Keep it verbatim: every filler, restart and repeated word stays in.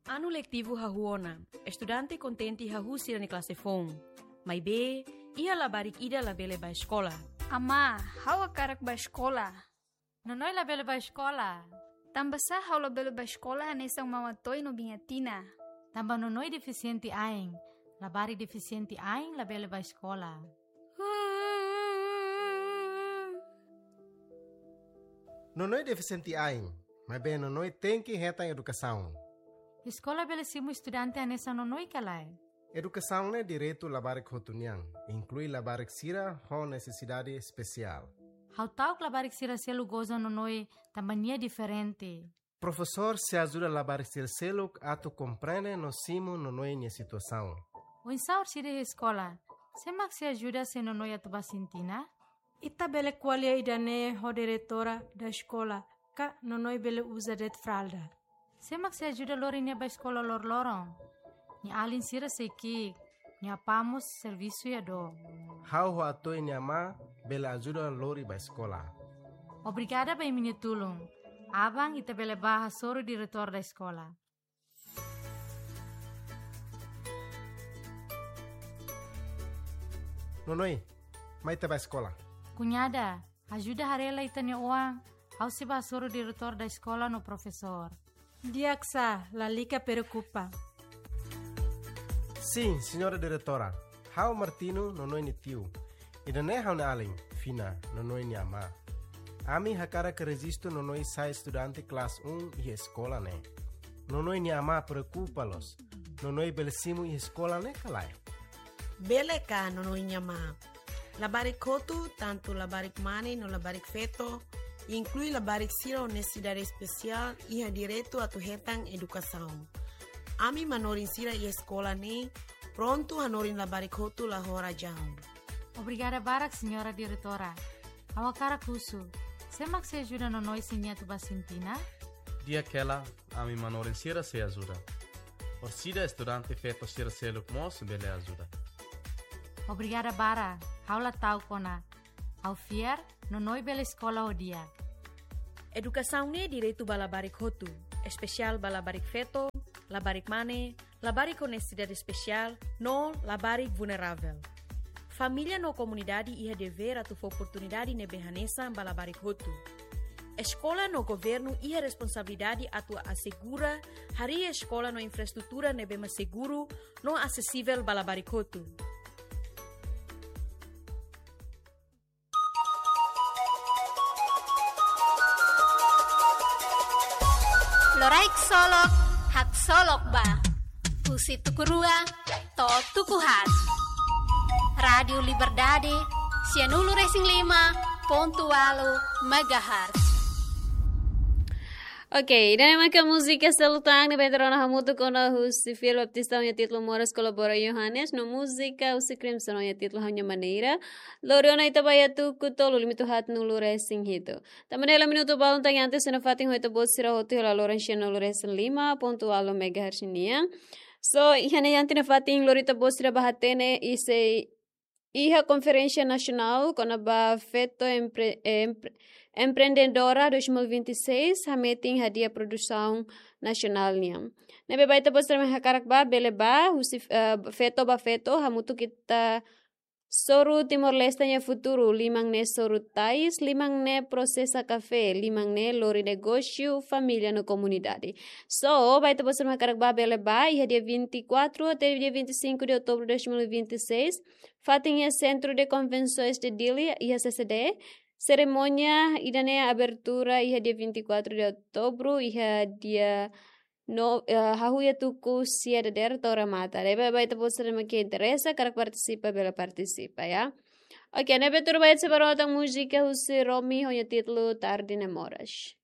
Anu letivu hahú ona, estudante kontente hahú sira-nia klase foun. Maibé, iha labarik ida labele bá eskola. Amá, ha'u hakarak bá eskola. Nonoi labele bá eskola. Tanbasá ha'u labele bá eskola hanesan Mama Toi no Biña Tina? Tanba Nonoi defisiente ain. Labarik defisiente ain labele bá eskola. Nonoi defisiente ain, maibé Nonoi tenke hetan edukasaun. Eskola bele simu estudante hanesan Nonoi ka lae? Edukasaun ne'e direitu labarik hotu nian, inklui labarik sira ho nesesidade espesiál. Ha'u ta'uk labarik sira seluk goza Nonoi tanba nia diferente. Profesór sei ajuda labarik sira seluk atu komprende no simu Nonoi nia situasaun. Oinsá orsida iha eskola? Sé mak sei ajuda se Nonoi atu bá sintina? Ita bele ko'alia ida-ne'e ho diretora da eskola, ka Nonoi bele uza de'it fralda. Sé mak sei ajuda lori nia bá eskola loroloron? Nia alin sira sei ki'ik, nia apá mós servisu iha dook. Ha'u ho Atoi nia amá bele ajuda lori bá eskola. Obrigada ba imi-nia tulun. Aban ita bele bá hasoru diretór da eskola. Nonoi, mai ita bá eskola. Kuñada, ajuda haree lai ita-nia oan, ha'u sei bá hasoru diretór da eskola no profesór. Di'ak sá, lalika preokupa. Sin, señora diretora. Ha'u Martino, Nonoi nia tiu. Ida-ne'e ha'u-nia alin, Fina, Nonoi nia amá. Ami hakarak rejistu Nonoi sai estudante klase um iha eskola ne'e. Nonoi nia amá preokupa loos. Nonoi bele simu iha eskola ne'e ka lae? Bele ka, Nonoi nia amá. Labarik hotu, tantu labarik mane no labarik feto, inklui labarik sira ho nesesidade espesiál, iha direitu atu hetan edukasaun. Ami manorin sira iha eskola ne'e prontu hanorin labarik hotu la ho razaun. Obrigada barak, señora diretora. Ha'u hakarak husu, sé mak sei ajuda Nonoi se nia atu bá sintina? Di'ak hela, ami manorin sira sei ajuda. Orsida estudante feto sira seluk mós bele ajuda. Obrigada barak, ha'u la ta'uk ona. Ha'u fiar, Nonoi bele eskola ho di'ak. Edukasaun ne'e direitu ba labarik hotu, espesiál ba labarik feto, labarik mane, labarik ho nesesidade espesiál, no labarik vulneravel. Família no komunidade iha devér atu fó oportunidade ne'ebé hanesan ba labarik hotu. Eskola no governu iha responsabilidade atu asegura harii eskola no infraestrutura ne'ebé mak seguru no asesivel ba labarik hotu. Loraik solok, haksolok ba. Husi tuku rua to'o tuku haat. Rádiu Liberdade, sianulu resin lima pontu ualu megahertz. Oke, ida-ne'e maka múzika seluk tan ne'ebé ita rona hamutuk ona husi Fiel Baptista ho nia títulu Moras, kolabora Yohanes, no múzika husi Crimson ho nia títulu Ha'u-nia Maneira. Lori ona ita ba iha tuku tolu, limitu haatnulu resin hitu. Tanba ne'e hela minutu balun tan iha antes, sira nafatin ho ita-boot sira hotu iha laloran sianulu resin lima pontu ualu megahertz nian. So, iha ne'e iha antes nafatin lori ita-boot sira ba hatene iha, iha konferénsia nasionál kona-ba feto empre-, empre-, empreendedora dois mil e vinte e seis, hametin hadi'a produsaun nasionál nian. Ne'ebé ba ita-boot sira mak hakarak ba, bele ba, husi, eh, feto ba feto, hamutuk ita soru Timor-Leste nia futuru, liman ne'e soru tais, liman ne'e prosesa kafé, liman ne'e lori negósiu, família no komunidade. So, ba ita-boot sira mak hakarak ba bele ba, iha dia vinte e quatro até dia vinte e cinco de outubro de dois mil e vinte e seis, fatin iha Centro de Convenções de Dili, iha C C D, serimónia ida-ne'e abertura iha dia vinte e quatro de outubro, iha dia no, eh, hahú iha tuku sia dadeer to'o remata. Ne'ebé ba ita-boot sira mak interesa, hakarak partisipa, bele partisipa, ya. Oke, ne'ebé tuir ba ita sei bá rona tan múzika husi Romi ho nia títulu Tarde Ne'e Moras.